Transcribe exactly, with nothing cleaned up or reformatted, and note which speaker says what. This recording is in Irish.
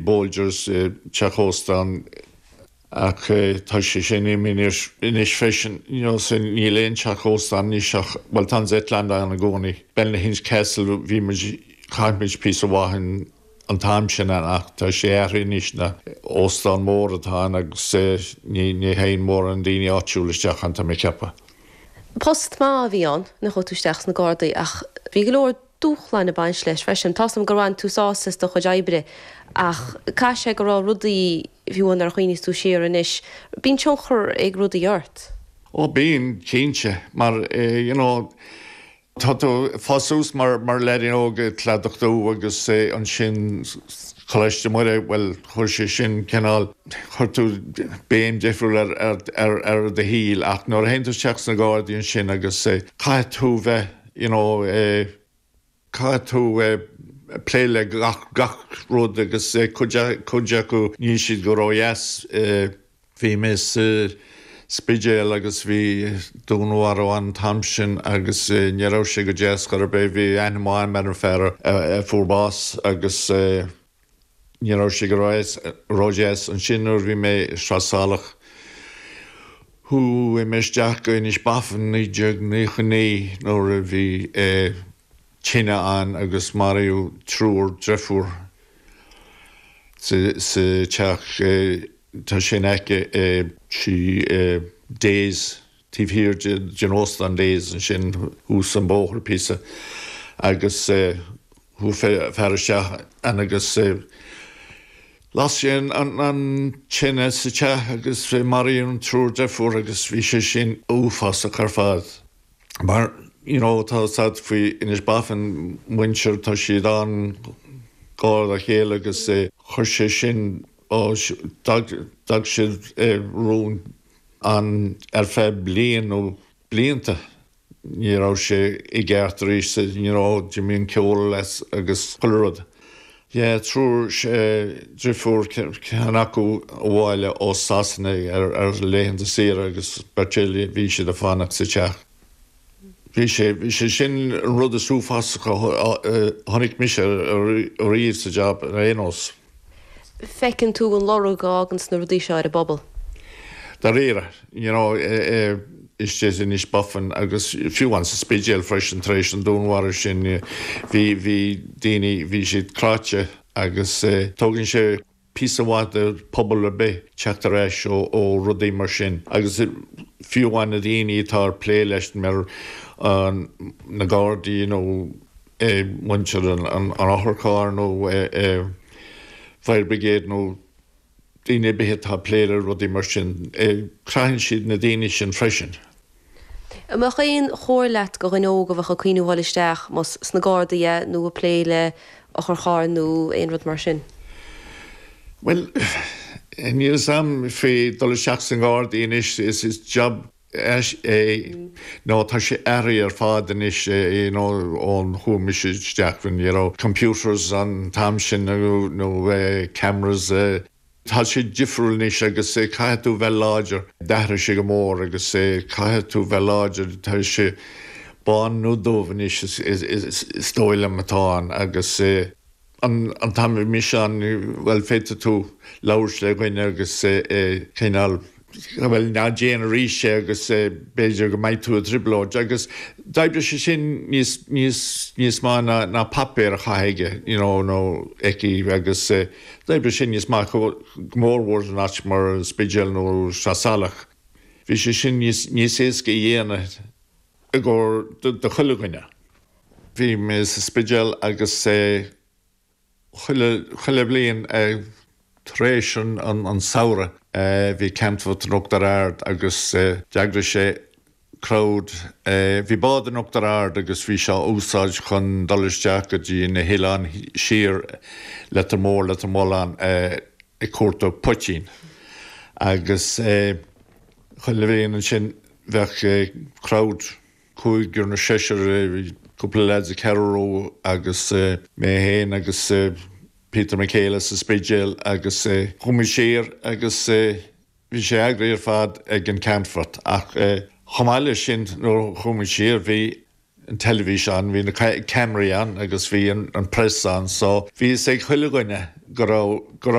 Speaker 1: Bolgers teach óstán ach tá sé sin imithe anois freisin sin níl aon teach óstán anois ach well tá Zetland ann i gcónaí. Ballynahinch Castle bhí chaith píosa amháin an t-am sin an ach tá sé anois ina óstán mór atá agus ní ní théann mórán daoine áitiúil isteach ann tá mé ag ceapadh.
Speaker 2: Post maith a bhí ann nuair a chuaigh tú isteach sna Gardaí ach bhí go leor dúshlán ag baint leis freisin Tá gur bhain tú sásamh as do chuid oibre ach caithfidh sé go raibh rudaí fiú nuair a chuimhníos tú siar anois, Bíonn tionchar ag rudaí ort.
Speaker 1: Ó bíonn cinnte mar eh, you know, Tá tú ag fás suas mar mar leaidín óg Cladach Dubh agus eh, ansin Coláiste Muire well chuir sé sin cineál chuir tú béim difriúil ar ar ar ar do shaol ach nuair a théann tú isteach sna Gardaí ansin agus eh, caithfidh tú bheith you know, eh, caithfidh tú eh, plé le gach gach rud agus eh, cuid acu níl siad go ródheas eh, bhí mé sa Spidéal agus bhí dúnmharú an t-am sin agus eh, ní raibh sé go deas go bé bhí aithne ar an fear a fuair bás agus eh, ní raibh sé go ródheas ansin nuair bhí mé Sraith Salach chuaigh mé isteach go Inis Bafann naoi déag nócha naoi nuair a bhí tine ann agus maraíodh triúr deirfiúr sa teach tá sin aici sí Days taobh thiar den óstán Days ansin thuas an bóthar píosa agus chuaigh fear isteach ann agus las sé an tine sa teach agus maraíodh an triúr deirfiúr agus bhí sé sin uafásach ar fad. Mar you know, tá sad faoi Inis Bafann muintir tá siad an-ghar dá chéile agus chuir sé sin d'fhág siad rún an ar feadh bliain nó blianta. Ní raibh sé i gceart arís ní raibh d'imigh an ceol leis agus chuile rud. Yeah, triúr deirfiúr ceann acu abhaile ó Sasana ar ar laethanta saoire agus beirt eile bhí siad ag fanacht sa teach. Bhí sé bhí sé sin an rud is uafásaí a chonaic mise riamh sa job ar aon nós.
Speaker 2: Feiceann tú an lorg a fhágann na rudaí seo ar an bpobal.
Speaker 1: Dáiríre, you know, istigh in Inis Bafann agus fiú an sa Spidéal freisin tar éis an dúnmharú sin bhí bhí daoine bhí siad cráite agus tógann sé píosa maith do pobal ar bith teacht ar ais ó ó rudaí mar sin agus fiú amháin na daoine atá ag plé leis mar na Gardaí nó muintir an otharchairr nó fire brigade nó daoine ar bith atá ag plé le rudaí mar sin craitheann siad na daoine sin freisin.
Speaker 2: An mbeadh aon chomhairle agat do dhuine óg a bheadh ag cuimhneamh dul isteach más sna Gardaí nó ag plé le otharcharr nó aon rud mar sin.
Speaker 1: Well níl a fhios agam faoi dul isteach sna Gardaí anois is is job é nó tá sé athraithe ar fad anois nó ón chuaigh mise isteach you know, computers an t-am sin nó nó cameras Tá sé difriúil anois agus caithfidh tú bheith láidir d'athraigh sé go mór agus caithfidh tú bheith láidir tá sé bán nó dubh anois is dóigh liom atá ann agus an an t-am a bhí mise ann well féadfaidh tú labhairt le dhuine agus cineál well ná déan arís é agus b'fhéidir go mbeidh tú i dtrioblóid agus d'oibrigh sé sin níos níos níos mó ná ná páipéar a chaitheamh aige you know, nó aici agus d'oibrigh sin níos mó go mórmhór in áit mar Spidéal nó Sraith Salach. Bhí sé sin níos níos éasca a dhéanamh i gcomhair do chuile dhuine. Bhí mé sa Spidéal agus chuile chuile bhliain tar éis an an samhradh bhí camphort in Uachtar Ard agus d'eagraigh sé crowd bhí bád in Uachtar Ard agus bhí sé úsáid chun dul isteach go dtí na hoileáin siar Leitir Móir Leitir Mealláin ag cuartú poitín. Agus chuile bhliain ansin bheadh crowd cúigear nó seisear cúpla lads ag Carrow agus mé féin agus Peter McHale sa Spidéal agus chuaigh muid siar agus bhí sé eagraithe ar fad ag an Camphort ach chomh maith leis sin nuair chuaigh muid siar bhí an teilifís ann, bhí na ceamaraí ann agus bhí an, an press ann, so bhí ag chuile dhuine go raibh go